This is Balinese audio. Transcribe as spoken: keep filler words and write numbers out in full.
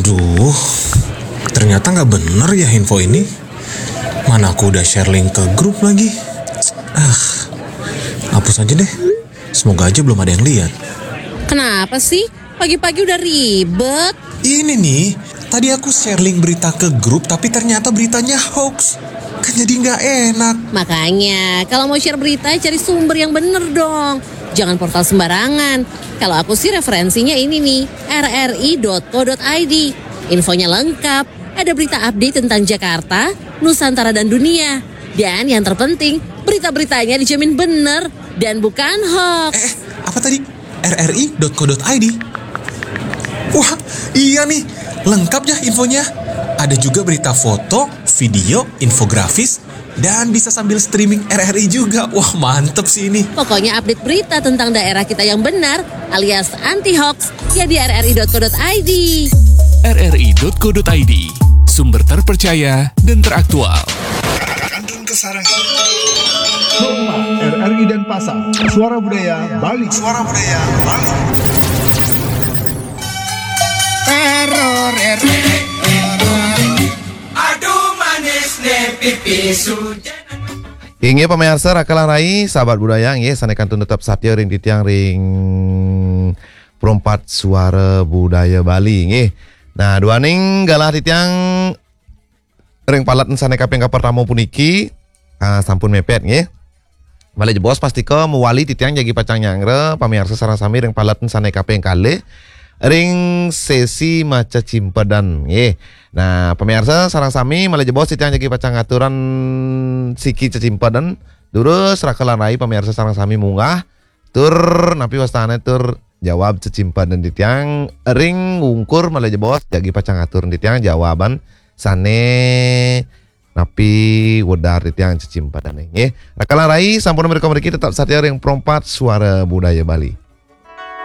Duh, ternyata nggak bener ya info ini. Mana aku udah share link ke grup lagi. Ah, hapus aja deh. Semoga aja belum ada yang lihat. Kenapa sih? Pagi-pagi udah ribet. Ini nih, tadi aku share link berita ke grup tapi ternyata beritanya hoax. Kan jadi nggak enak. Makanya, kalau mau share berita, cari sumber yang bener dong. Jangan portal sembarangan. Kalau aku sih referensinya ini nih, rri.co.id. Infonya lengkap, ada berita update tentang Jakarta, Nusantara dan dunia. Dan yang terpenting, berita-beritanya dijamin bener dan bukan hoax. Eh, apa tadi? rri.co.id. Wah, iya nih, lengkap ya infonya. Ada juga berita foto, video, infografis, dan bisa sambil streaming RRI juga. Wah, mantep sih ini. Pokoknya update berita tentang daerah kita yang benar alias anti hoax ya di rri.co.id. rri.co.id, sumber terpercaya dan teraktual. Kandun Kesarangan. Rumah RRI Denpasar, Suara Budaya Bali. Suara Budaya Bali. Teror RRI. Aduh manis nih pipi sujan. Inggih pamiarsa Raka lan Rai, sahabat budaya, inggih sané kantun tetep satia ring titiang ring Perempat Suara Budaya Bali, inggih. Nah, duaning galah titiang ring paletan sané kaping kapertama puniki, ah, sampun mepet, inggih. Malih jebos pastika mawali titiang jagi pacang nyanggra pamiarsa sareng sami ring paletan sané kaping kalih ring sesi maca cimpedan, nggih. Nah, pamiarsa sareng sami malih jebos titiang jagi pacang ngaturan siki cecimpedan, durus Raka lan Rai pamiarsa sareng sami munggah tur napi wastané tur jawab cecimpedan titiang ring ungkur malih jebos jagi pacang ngatur titiang jawaban sané napi wedar titiang cecimpedané, nggih. Raka lan Rai sampun mrika mriki tetep satia ring Perempat Suara Budaya Bali.